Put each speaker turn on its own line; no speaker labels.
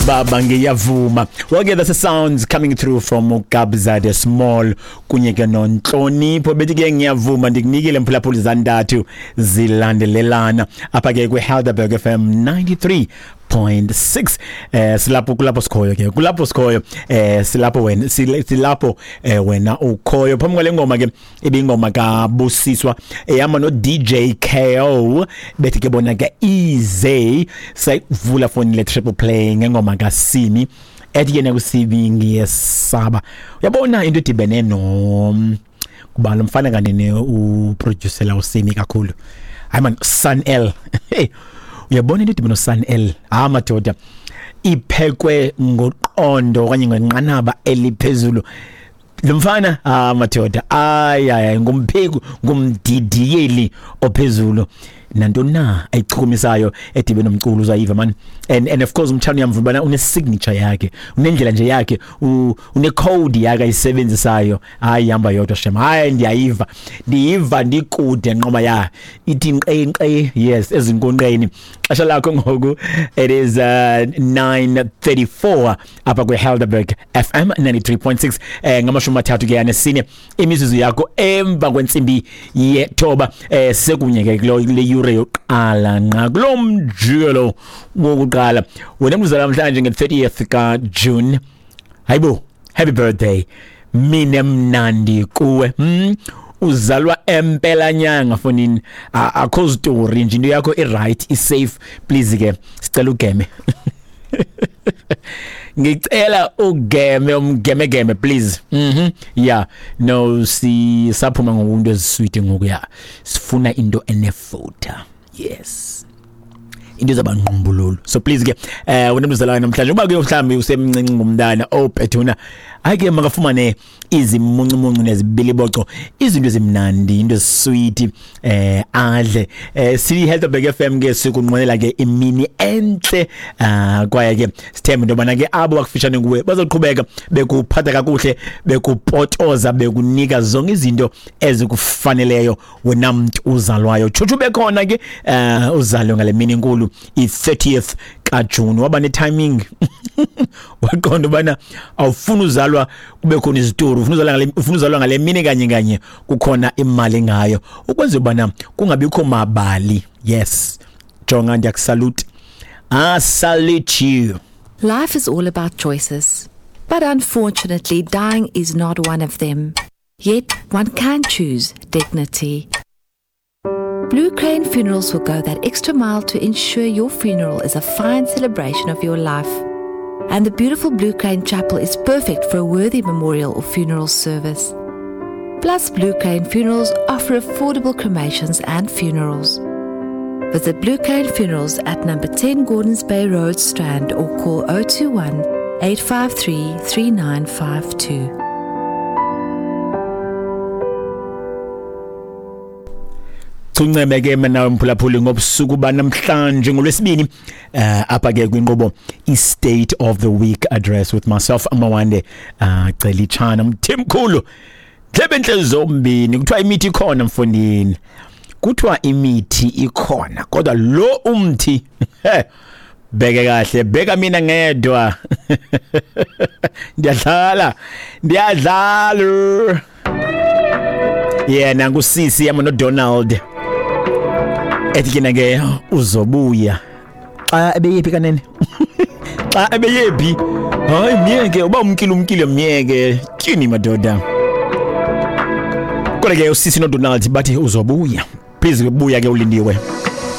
Baba ngiyavuma. Well ke, that's the sounds coming through from uKabza De Small kunye ke noNtlonipho, bethi ke "Ngiyavuma". Ndikunikile, mphulaphuli, zantathu zilandelelana apha ke kwi-Helderberg FM 93.6. Silapho, kulapho sikhoyo ke, kulapho sikhoyo, silapho wena, silapho wena ukhoyo. Phambi kwale ngoma ke ibingoma kaBusiswa ehamba no DJ KO, bethi ke bona ke "Easy". Sayivula foni le triple play ngengoma kaSimi ethi yena kuSimi "Ngiyesaba". Uyabona into edibene no kuba lo mfana kanene uproducela uSimi kakhulu, hayi man, Sun L. Hey, uyabona into edibene no Sun L, ah madoda, iphekwe ngoqondo okanye ngenqanaba eliphezulu lo mfana. Ah madoda, ay ay, ngumpheki, ngumdidiyeli ophezulu. Nantoni na ayichukumisayo edibe nomculo uzayiva man. And of course umthando uyamvuma bana une signature yakhe, unendlela nje yakhe, une code yakhe ayisebenzisayo. Hayi, ihamba yodwa shem. Hayi, ndiyayiva, ndiyiva ndikude nqoma ya ithi nqe nqe, yes, ezinkonqeni. Xesha lakho ngoku, it is 9:34 apha kwe-Helderberg FM 93.6, 34 ke 4 imizuzu yakho emva kwentsimbi yethoba. Sekunye ke kulo le yure yokuqala nqa kulo mjikelo wokuqala. Wena mzala namhlanje nge-30th ka June, hayibo, happy birthday, mine mnandi kuwe. Uzalwa empelanyanga fonini, akho story nje, into yakho i-right, i-safe. Please ke sicela ugeme, ngicela ugeme umgemegeme please. Yeah, no, si saphuma ngokunto ezisweet ngoku, ya, sifuna into enefutha, yes, into zabanqumbululu. So please ke, wena mzalwane namhlanje, uba ke mhlambi usemncinci ngumntana, oh bethuna, hayi ke makafumane izimuncumuncu nezibiliboco, izinto ezimnandi, into ezisweet, adle. Si Helderberg FM ke sikunqwenela ke imini enhle, kwaye ke sithemba into yobana ke abo bakufishane kuwe bazoqhubeka bekuphatha kakuhle, bekupotoza, bekunika zonke izinto ezikufaneleyo wena mntu uzalwayo. Tshutshu bekhona ke, uzalwe ngale mini enkulu, i-30th kaJune, waba ne-timing, waqonda ubana awufuni uzalwa kube khona izitori, ufuna uzalwa ngale, ufuna uzalwa ngale mini kanye kanye kukhona imali ngayo, ukwenza ubana kungabikho mabali. Yes, jonga, ndiyakusalute, I salute you.
Life is all about choices. But unfortunately, dying is not one of them. Yet, one can choose dignity. Blue Crane Funerals will go that extra mile to ensure your funeral is a fine celebration of your life. And the beautiful Blue Crane Chapel is perfect for a worthy memorial or funeral service. Plus, Blue Crane Funerals offer affordable cremations and funerals. Visit Blue Crane Funerals at number 10 Gordons Bay Road, Strand, or call 021 853 3952.
Chunceme ke mina mphulaphuli ngobusuku banamhlanje ngolwesibini, apha ke kwinqubo i-State of the Week Address with myself, Amawande Celichana Mthimkhulu. Ndlebe enhle zombini, kuthiwa imithi ikhona mfondini, kuthiwa imithi ikhona, kodwa lo umthi, bheke kahle, bheka mina ngedwa, ndiyadlala, ndiyadlala. Yena ngusisi yama noDonald, ethi kena ke "Uzobuya". Xa ebeyephi kanene? Xa ebeyephi? Hayi, myeke, uba umkile, umkile, myeke. Tyhini madoda, kodwa ke usisi noDonald bathi "Uzobuya". Please buya ke, ulindiwe.